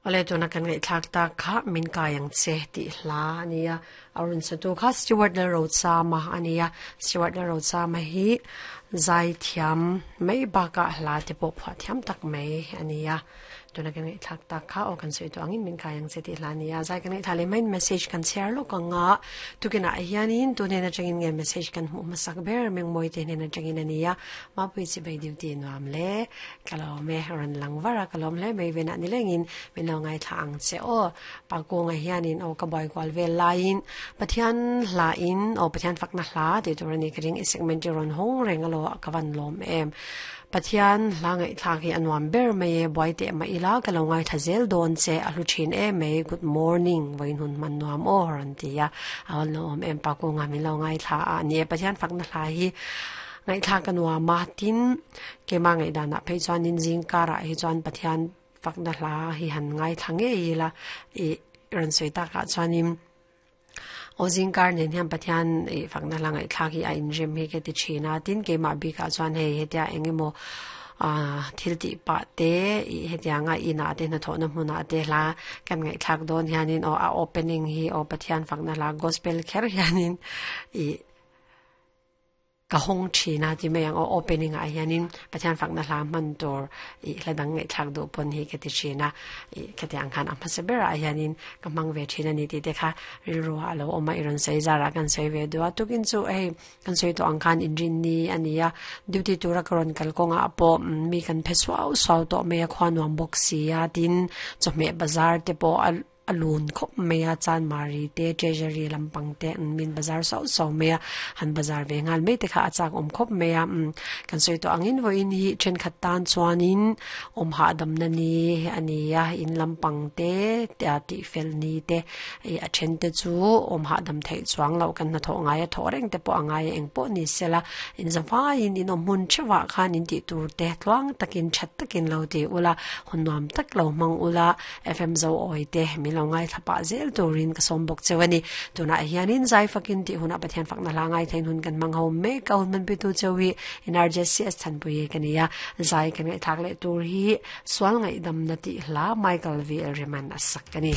Awle tuna kan ngaihthlak tak kha min kai ang che tih hla a ni a, a rawn satu kha Stewart Lalrochama a ni a, Stewart Lalrochama hi zai thiam mai bakah hla te pawh phuah thiam tak mai a ni a. Tuna kan ngaihthlak tak kha aw kan sawi tawh angin min kai ang che tih hla a ni a, zai kan ngaihthla leh maiin message kan chhiar lawk ang a, tukinah hianin tu hnen atangin nge message kan hmuh hmasak ber Mengmawi te hnen atangin a ni a, Mapui chibai duty nuam le. Ka lawm e, rawn lang var a, ka lawm hle mai venah ni lengin min lo ngaithla ang che aw. Pa Kunga hianin aw ka buai kual vel laiin Pathian hla in aw Pathian fakna hla tih tur a ni ka ring i segment hi rawn hawng reng alo a ka van lawm em. Pathian hla ngaihthlak hi a nuam ber mai e, buai teh mah ila ka lo ngaithla zel dawn che a hlu thin em mai, good morning vawiin hun hman nuam aw rawn ti a, a rawn lawm em Pa Kunga min lo ngaithla a ni e Pathian fakna hla hi ngaihthlak a nuam a tin Keimah ngaihdanah phei chuanin zing karah hi chuan Pathian fakna hla hi han ngaithla ngei ila ih rawn sawi takah chuanin aw zing kar nen hian Pathian ih fakna hla ngaihthlak hi a inrem hi ka ti thin a tin keimah bikah chuan hei hetia eng emaw ah thil tih pah te ih hetianga inah te hnathawhna hmunah te hla kan ngaihthlak dawn hianin aw a opening hi aw Pathian fakna hla gospel kher hianin ih Ka hawng thin a ti mai ang aw opening ah hianin Pathian fakna hla hman tur ih hla dang ngaihthlak duh pawn hi ka ti thin a ih khatiang ang khan a hmasa berah hianin ka hmang ve thin a ni tih te kha rilru ah a lo awm a i rawn sawi zarah kan sawi ve duh a tukin chu hei kan sawi tawh ang khan inrinni a ni a duty tura ka rawn kal kawngah pawh mi kan phe suau suau tawh mai a khua nuam bawk si a tin chawhmeh bazar te pawh a A lun khawp mai a, Chanmari te, Treasury lampang te an min bazar sauh sauh mai a, han bazar ve nghal mai te kha a chak awm khawp mai a, umm kan sawi tawh angin vawiin hi thenkhat tan chuanin awm hahdamna ni a ni a, in lampang te tih fel ni te ih a then te chu awm hahdam theih chuang loh kan hnathawh ngai a thawh reng te pawh a ngai a eng pawh ni sela in zavaiin in awm hmun theuhah khan in tih tur te tluang takin that takin lo ti ula hun nuam tak lo hmang ula. FM zo awi te min lo ngaithla pah zel turin ka sawm bawk cheu a ni. Tunah hianin zai fakin tih hunah Pathian fakna hla ngaithla in hun kan hmang ho mek a, hun hmanpuitu cheu hi NRJCS Thanpui ka ni a, zai kan ngaihthlak leh tur hi Sual Ngaihdamna tih hla Michael VL Riman a sak a ni.